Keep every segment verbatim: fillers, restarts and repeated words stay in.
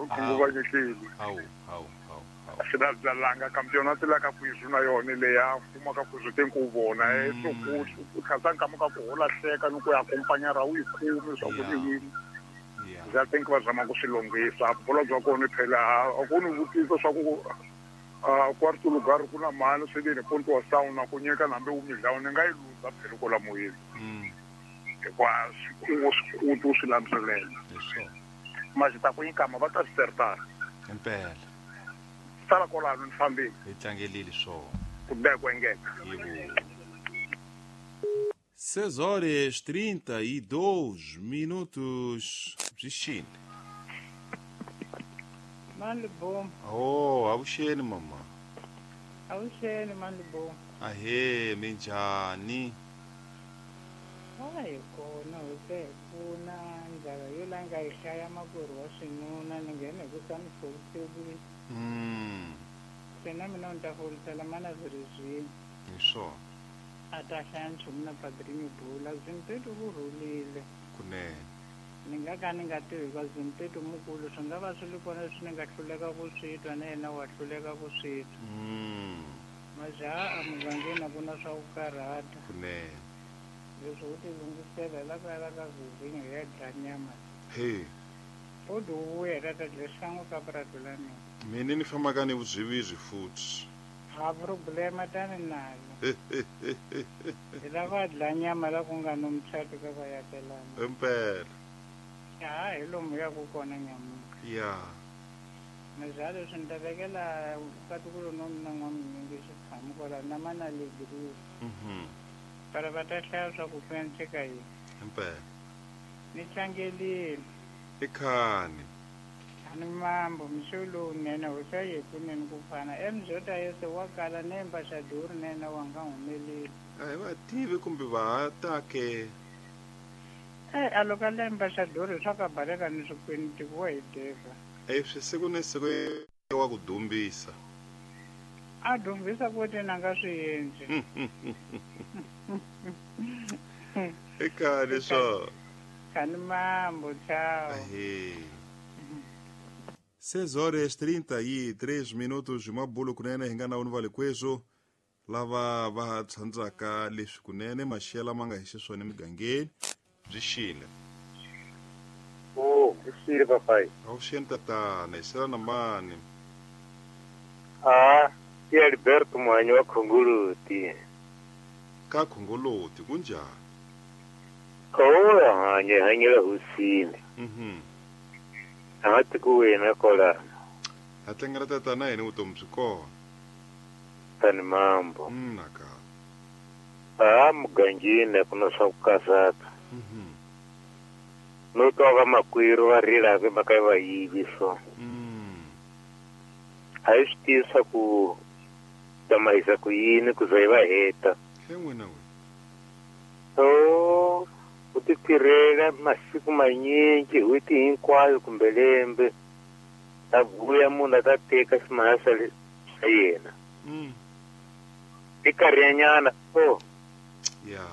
khunguvanyekile. Hawu hawu hawu. Swi na byalanga campeonato la ka kwizu na yona leya kuma ka kwizu te ku vona e so ku khatsa nkama ka ku hola hleka ni ku ya accompanya ra u yi kumi swa ku ni wini. Yeah. I think va zama ku swi lunghisa bolo bya kona phela a ku ni vutisa swa ku a quarto lugar ku na mali swi le ponto wa sauna ku nyika nambe u midlawu ni nga yi luza phela ko la moyeni. Mm. Hikuva swi swi ku swi landzelela. Leswo. Maji ta ku nyikama va ta swi sertana. Impela. Sala kwalano ni fambile. Hi tlangelile swona. Ku beka engeka. Yebo. seis horas trinta e dois minutos. Bzixini. Malibom. Oh, avuxeni mama. Avuxeni Malibom. Ahe, minjhani? Hayi kona hose pfuna ndlala yo langa yi hlaya makwerhu wa xinuna ni nghene hi ku sa ni folisekile. Mm. Se na mina ni ta folisela mana zwi Hi swona. A ta hlaya nchumu na padrinho bula Zimpeto ku rhulile. Kunene. Ni nga ka ni nga tivi hikuva Zimpeto mukulu swi nga va swi ri kona leswi ni nga hluleka ku swi twa na yena wa hluleka ku swi twa. Mm. Majaha a mugangeni a ku na swa ku karhata. Kunene. Leswi u ti lunghisela hi la ku ya la ka Vizinho hi ya dlaya nyama. He. U di vuya hi ta ta dya xikan'we ka purasi la mina. Mina ni fambaka ni vuzwivizwi futhi. Ha problema tani nalo. Hi lava dlaya nyama la ku nga no muchato ka vayakelana. Impela. Ha hi lomu ya ku kona nyamuka. Ya. Majaha leswi ni ta vekela katukulu no mina n'waminyingi xitshamu kwala na mana legri. Mhm. Para va ta hlaya swa ku penseka yini. Impela. Ni tlangelile. I khani. Ani mambo mixo lowunene ho sa ye kunene ku fana emzota yese wa kala ne embaxador nene wa nga humeleli. A hi va tivi kumbe va ha ta ke. Eh a loko le embaxador swa ka baleka ni swikwini tiko wa hi deva. Eh swi siku ni siku wa ku dumbisa. A dumbisa ku te na nga swi endli. I khani swo. Khani mambo ciao. Ahe. seis horas trinta e três minutos mabulo kunene hi nga na va lekwezo lava va tsandzaka leswi kunene maxela ma nga hi xiswona emigangeni byi xile. Oh, byi xile papai. Avuxeni tatana, hi sela na mani? Ah, i Alberto Muhanyi wa Khongoloti. Ka Khongoloti kunjhani? Oh, hanye hanyela hosini. Mhm. A nga ku wena kwalano. Ha tlangela tatana hina vutomi byi kona. Tani mambo. Mm, naka. A mugangeni a ku na swa ku karhata. Mhm. No twa vamakwerhu va rila hi mhaka ya vayivi so. Mm. A hi swi tivi swa ku tsamahisa ku yini ku za hi va heta. He n'wina we. So u ti tirhela masiku manyingi n'hweti hinkwayo kumbe lembe ta vuya munhu a ta teka ximahla xa yena. Mm. I karhinyana o. Ya.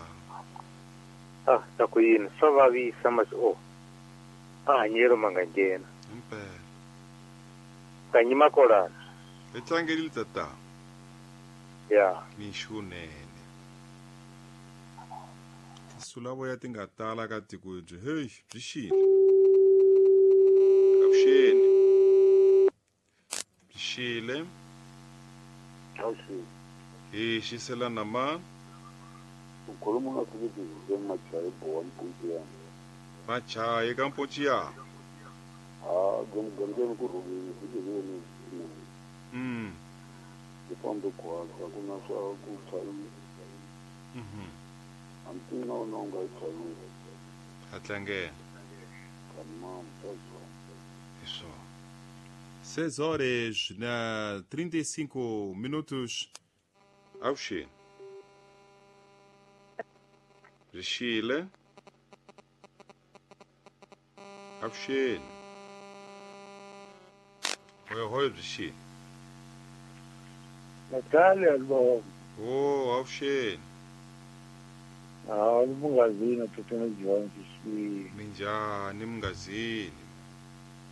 Ah, ta ku yini swa vavisa masi o. A hanyelo ma nga nghena. Impela. Kanyi makolana. Hi tlangelile tata. Ya. Mixunene. Tinsulavoya ti nga tala ka tiko byi hey byi xile. Avuxeni. Byi xile. Avuxeni. Hi xisela na mani? U khuluma na Philip Machayi Bowa Mpontiyana. Machayi ka Mpontiyana. Ah, gomgangeni ku rhulile hi tiveni. Mm. Hi fambe kwala ku na swa ku chayi. Mhm. Hambi na wona u nga yi chayile. Ha tlangela. Tamam, tazwa. Hi swona. seis horas na trinta e cinco minutos. Avuxeni. Byi xile. Avuxeni. Hoyo hoyo byi xile. Natalia Albo. Oh, avuxeni. Ah, mungazini tatana Jones. Minjhani mungazini?